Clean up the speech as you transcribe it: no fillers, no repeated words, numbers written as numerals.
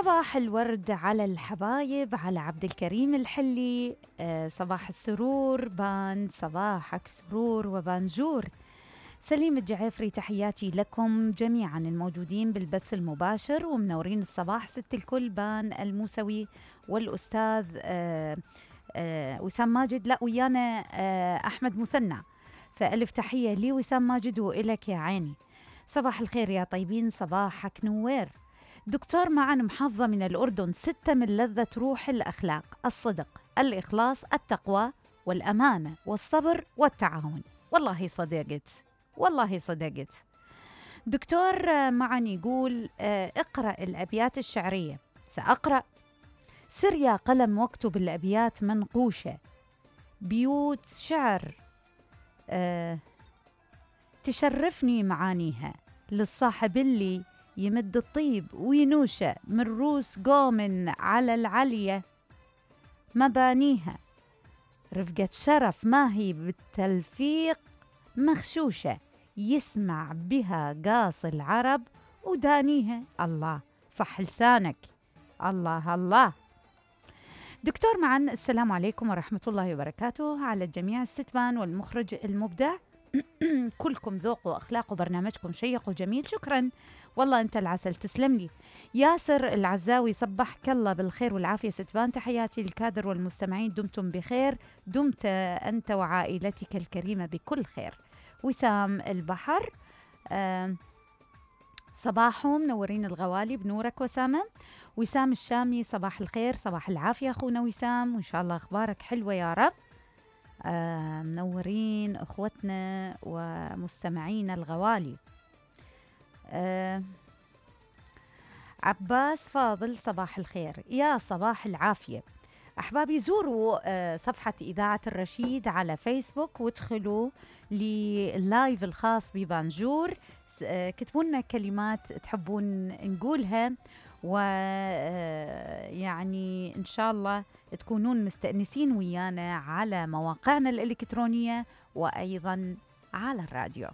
صباح الورد على الحبايب، على عبد الكريم الحلي. صباح السرور، بان صباحك سرور وبانجور. سليم الجعيفري، تحياتي لكم جميعا الموجودين بالبث المباشر ومنورين الصباح. ست الكل، بان الموسوي والأستاذ وسام ماجد، لا ويانا أحمد مثنى، فألف تحية لي وسام ماجد وإلك يا عيني. صباح الخير يا طيبين، صباحك نوير. دكتور معن، محافظة من الأردن، 6 من لذة روح الأخلاق: الصدق، الإخلاص، التقوى، والأمانة، والصبر، والتعاون. والله صدقت، والله صدقت. دكتور معن يقول اقرأ الأبيات الشعرية. سأقرأ: سر يا قلم واكتب الأبيات منقوشة، بيوت شعر تشرفني معانيها، للصاحب اللي يمد الطيب وينوشة، من روس قوم على العلية مبانيها، رفقة شرف ما هي بالتلفيق مخشوشة، يسمع بها قاص العرب ودانيها. الله، صح لسانك، الله الله. دكتور معن، السلام عليكم ورحمة الله وبركاته على الجميع. الستبان والمخرج المبدع، كلكم ذوق وأخلاق وبرنامجكم شيق وجميل. شكرا، والله أنت العسل، تسلم لي. ياسر العزاوي، صبحك الله بالخير والعافية ستبان، تحياتي للكادر والمستمعين، دمتم بخير، دمت أنت وعائلتك الكريمة بكل خير. وسام البحر، صباحهم منورين الغوالي بنورك وسامة. وسام الشامي، صباح الخير، صباح العافية أخونا وسام، وإن شاء الله أخبارك حلوة يا رب. منورين أخوتنا ومستمعين الغوالي. عباس فاضل، صباح الخير، يا صباح العافية. أحبابي، زوروا صفحة إذاعة الرشيد على فيسبوك وادخلوا لللايف الخاص ببانجور، كتبوا لنا كلمات تحبون نقولها، ويعني إن شاء الله تكونون مستأنسين ويانا على مواقعنا الإلكترونية وأيضا على الراديو.